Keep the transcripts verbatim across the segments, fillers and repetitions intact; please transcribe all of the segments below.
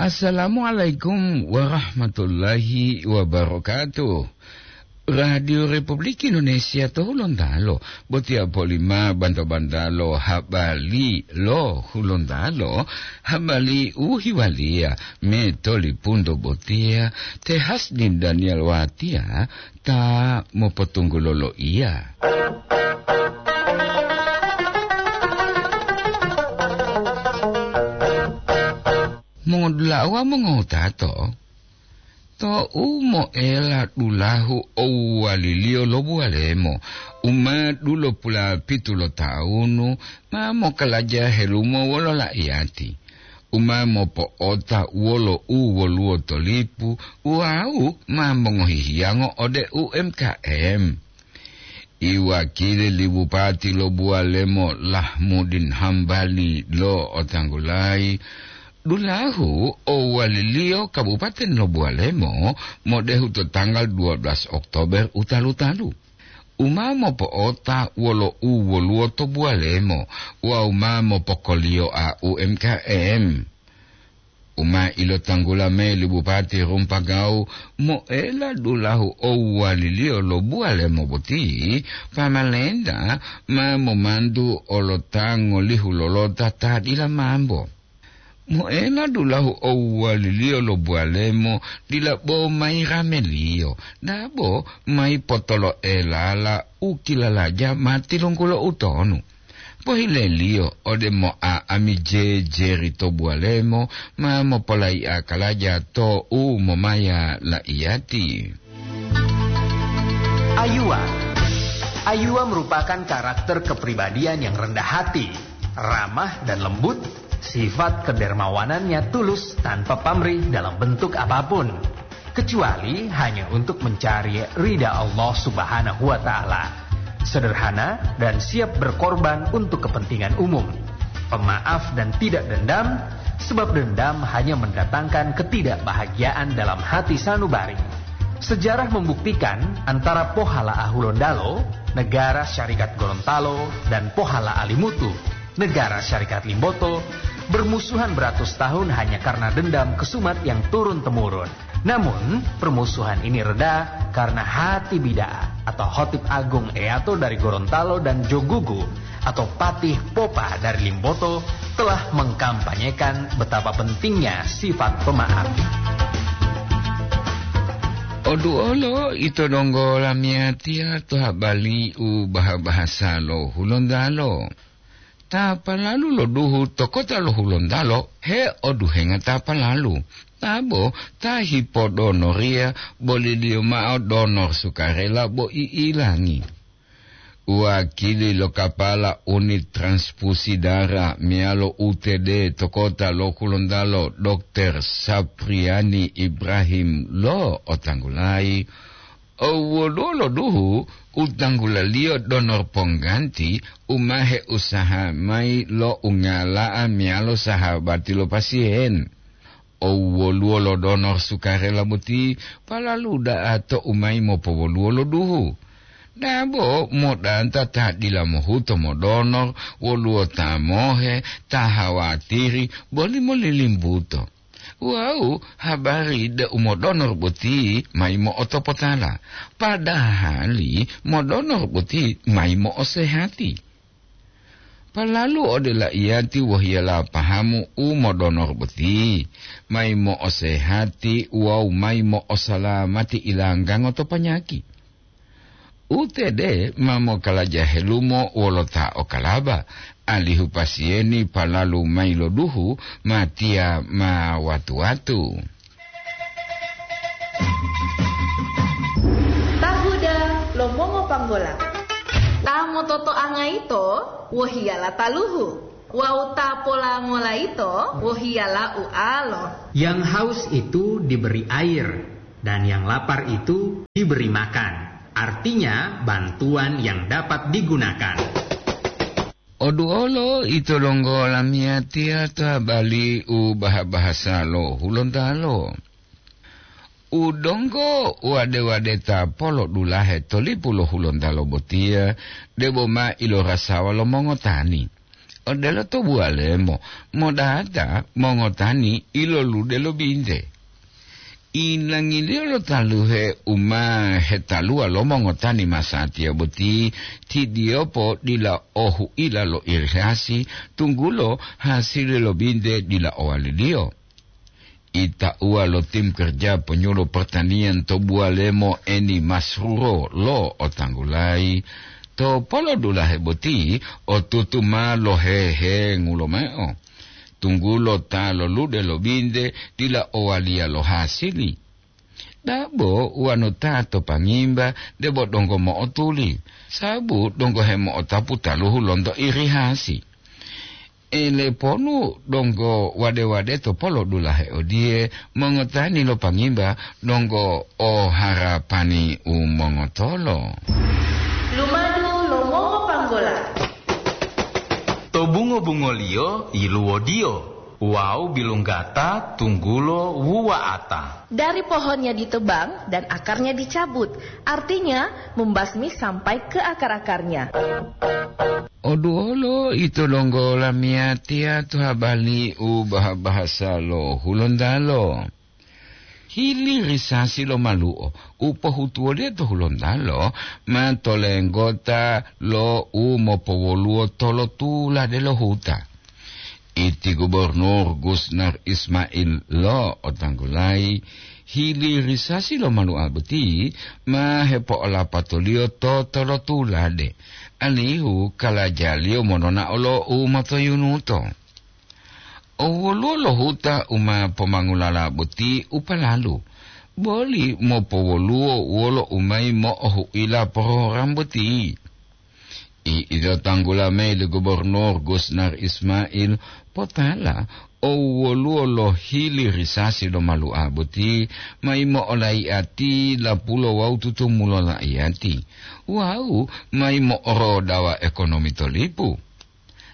Assalamualaikum warahmatullahi wabarakatuh. Radio Republik Indonesia to Hulontalo, botiya polima banto-bantalo habari lo Hulontalo, habari u hiwaliya me tolipunto botiya, te Hasdin Daniel Watiya ta mopotunggulo loiya. Mongodula'a wawu mongowutato, tou moela dulahu owuwaliliyo lo buwalemo, u ma dulopula pitu lo tawunu, ma mokalaja helumo wolo la'iyati, u ma mopo'ota wolo u woluwo to lipu wawu ma mongohi hiyango ode U M K M. Iwakili li bupati lo buwalemo Lahmudin Hambali lo'otanggulayi, dulahu owaliliyo kabupaten lo buwalemo modehu to tanggal dua belas Oktober u talu-talu, u ma mopo'ota wolo u woluwo to buwalemo wawu ma mopokoliyoa U M K M. U ma ilotanggula mayi li Bupati Rumpagawu, moela dulahu owuwaliliyo lo buwalemo boti, pamalenta ma momantu olo ta ngolihu lolota ta dila mambo. Moela dulahu owuwaliliyo lo buwalemo dila bo mayi rameliyo, dabo mayi potoloelala u kilalaja ma tilunggulo utonu. Pohileliyo ode moa ami jejeri to buwalemo ma mopolaiya kalaja to u momaya laiyati. Ayuwa. Ayuwa merupakan karakter kepribadian yang rendah hati, ramah dan lembut, sifat kedermawanannya tulus tanpa pamrih dalam bentuk apapun, kecuali hanya untuk mencari ridha Allah Subhanahu wa Ta'ala. Sederhana dan siap berkorban untuk kepentingan umum. Pemaaf dan tidak dendam, sebab dendam hanya mendatangkan ketidakbahagiaan dalam hati sanubari. Sejarah membuktikan antara Pohala Ahulondalo, Negara Syarikat Gorontalo, dan Pohala Alimutu, Negara Syarikat Limboto, bermusuhan beratus tahun hanya karena dendam kesumat yang turun-temurun. Namun, permusuhan ini reda karena hati bida'a atau Khotib Agung Eyato dari Gorontalo dan Jogugu atau Patih Popa dari Limboto telah mengkampanyekan betapa pentingnya sifat pemaaf. Oduolo ito donggo lamiyatiya to habari u baha-bahasa lo Hulontalo. Ta palalu lo duhu to kota lo Hulontalo heoduhenga ta palalu, tabo ta hipodonoriya boliliyo mao donor sukarela bo i'ilangi. Wakili lo kapala unit transfusi dara meyalo U T D to kota lo Hulontalo, Dokter Sapriani Ibrahim lo'otanggulayi, owoluwo lo duhu u tanggulaliyo donor pongganti u ma heusaha mayi lo ungala'a meyalo sahabati lo pasien. Owoluwo lo donor sukarela boti palalu da'a to u mayi mopowoluwo lo duhu. Dabo modanta ta dila mohuto modonor woluwo ta mohe, ta hawatiri, boli molilimbuto. Wawu habari deu modonor boti mayi mo'otopotala, padahali modonor boti mayi mo'osehati. Palalu ode laiyati wohiyala pahamu u modonor boti, mayi mo'osehati wawu mayi mo'osalamati ilanggango to panyaki. U T D ma mokalaja helumo wolo ta okalaba, alihu pasiyeni palalu mayi lo duhu, matiya ma watu-watu. Tahuda lo mongopanggola. Ta mototoanga yito wohiyala taluhu, wawu ta polangola yito wohiyala ualo. Yang haus itu diberi air, dan yang lapar itu diberi makan. Artinya, bantuan yang dapat digunakan. Oduolo ito donggo lamiyatiya ta bali u baha-bahasa lo Hulontalo. U donggo wade-wadeta polodulahe to lipu lo Hulontalo botiya, debo ma ilorasawa lo mongotani. Odelo to buwalemo, modata mongotani ilolude lo binte. Inangiliyo lo taluhe u ma hetaluwa lo mongotani masatiya boti, tidiyopo dila o huila lo irigasi, tunggulo hasili lo binte dila owaliliyo. Itauwa lo tim kerja penyuluh pertanian to buwalemo Eni Masruro lo otanggulayi, to polodulahe boti otutu ma lohehengu lomao, tunggulo ta lolude lo binte dila owaliya lo hasili. Dabo wanu ta to pangimba debo donggo mo'otuli, sabu donggo hemo'otapu taluhu lonto irihasi. Eleponu donggo wade-wade to polodulahe odiye, mongotani lo pangimba donggo o harapani u mongotolo. Lumadu lo mongopanggola. To bungo-bungoliyo yiluwodiyo wawu bilunggata tunggulo wuwa'ata. Dari pohonnya ditebang dan akarnya dicabut, artinya membasmi sampai ke akar-akarnya. Oduwolo ito donggo lamiyatiya to habali u baha-bahasa lo Hulontalo. Hili risasi lo malu'o u pohutuwoliyo to Hulontalo ma tolenggota lo u mopowoluwo tolotulade lo huta. Iti Gubernur Gusnar Ismail lo otanggulayi, hili risasi lo malu'a boti ma hepo'olapatoliyo to tolotulade, alihu kalajaliyo monona'o lo u motoyunuto. O woluwo lo huta u ma pomangulala boti u palalu, boli mopowoluwo wolo u mayi mo'ohu'ila program boti. I ito tanggula mayi li Gubernur Gusnar Ismail, potala o woluwo lo hili risasi lo malu'a boti mayi mo'olai'ati lapulo wawu tutumulo la'iyati, wawu mayi mo'orodawa ekonomi to lipu.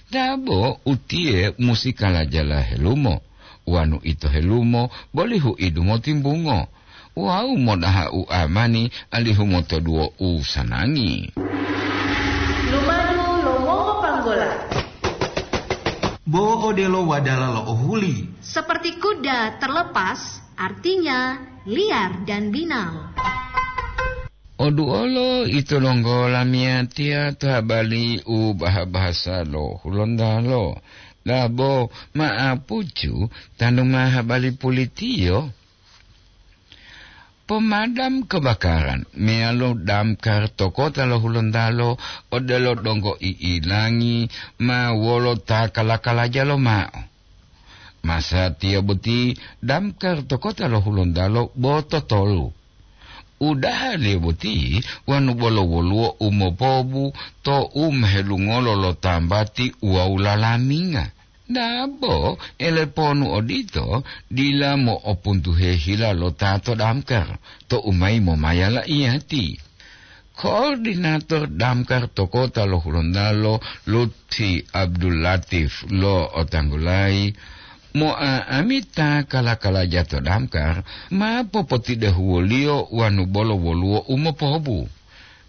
Dabo utiye musi kalajala helumo, wanu ito helumo boli huidu motimbungo, wawu modaha u amani alihu motoduwo u sanangi. Lumadu lo mongopanggola. Bo odelo wadala lo ohuli. Seperti kuda terlepas, artinya liar dan binal. Oduolo ito donggo lamiyatiya to habali u baha-bahasa lo Hulontalo, dabo ma'apucu tanu ma habali pulitiyo. Pomadam kebakaran meyalo damkar to kota lo Hulontalo odelo donggo i'ilangi ma wolo ta kala-kalaja lomao. Masatiya boti damkar to kota lo Hulontalo bo totolu. Udahaliyo boti wanu bolo woluwo u mopobu to u mehelungolo lo tambati wawu lalaminga. Dabo eleponu odito dila mo'opuntuhe hila lo ta to damkar to u mayi momaya la'iyati. Koordinator damkar to kota lo Hulontalo, Lutfi Abdul Latif lo otanggulayi, mo'a'amita kala-kalaja to damkar ma popotidehuwoliyo wanu bolo woluwo u mopobu.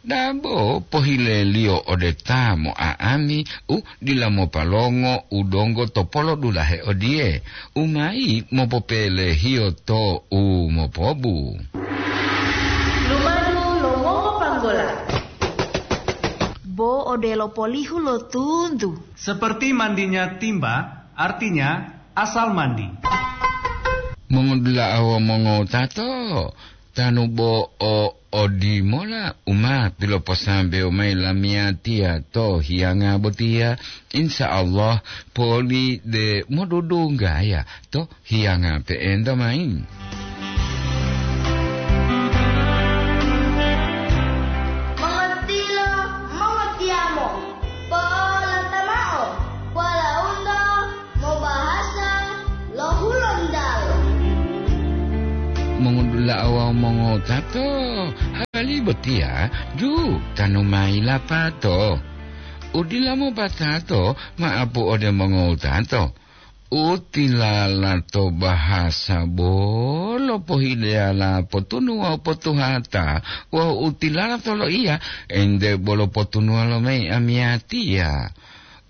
Dabo pohileliyo ode ta mo'a'ami u dila mopalongo u donggo to polodulahe odiye, u mayi mopopelehiyo to u mopobu. Lumadu lo mongopanggola. Bo odelo polihu lo tuntu. Seperti mandinya timba, artinya asal mandi. Mongodula'a wawu mongotato, tanu bo o odimola u ma piloposambewo mayi lamiyatiya to hiyanga botiya, insya Allah poli de modudunggaya to hiyanga pe'enta mayi. Mongontilo, mongotiyamo, polata mao, polaundo, mobahasa lo Hulontalo. Mongodula'a wawu mongotato, hali botiya ju tanu mayi lapato. Udila mopatato ma'apu ode mongotato. Utilala to bahasa bolo pohileyala potunu wawu potuhata, wawu utilala to loiya ente bolo potunuwa lo mayi amiyatiya.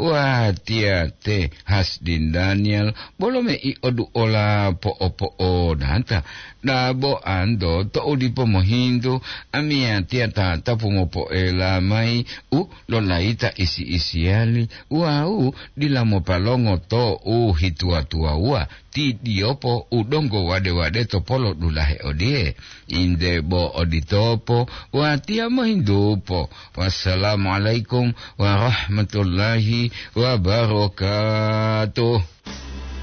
Watiya te Hasdin Daniel, bolo mei oduola po'o-po'odata. Dabo anto to'u dipo mohintu, amiyatiya tatapu mopoela mayi u lolayita isi-isiyali, wawu dila mopalongo to'u hituwa-tuwawuwa, ti diyopo u donggo wade-wade to polo dulahe odiye. Inde bo oditopo, watiya mohintupo. Wassalamualaikum warahmatullahi wabarakatuh.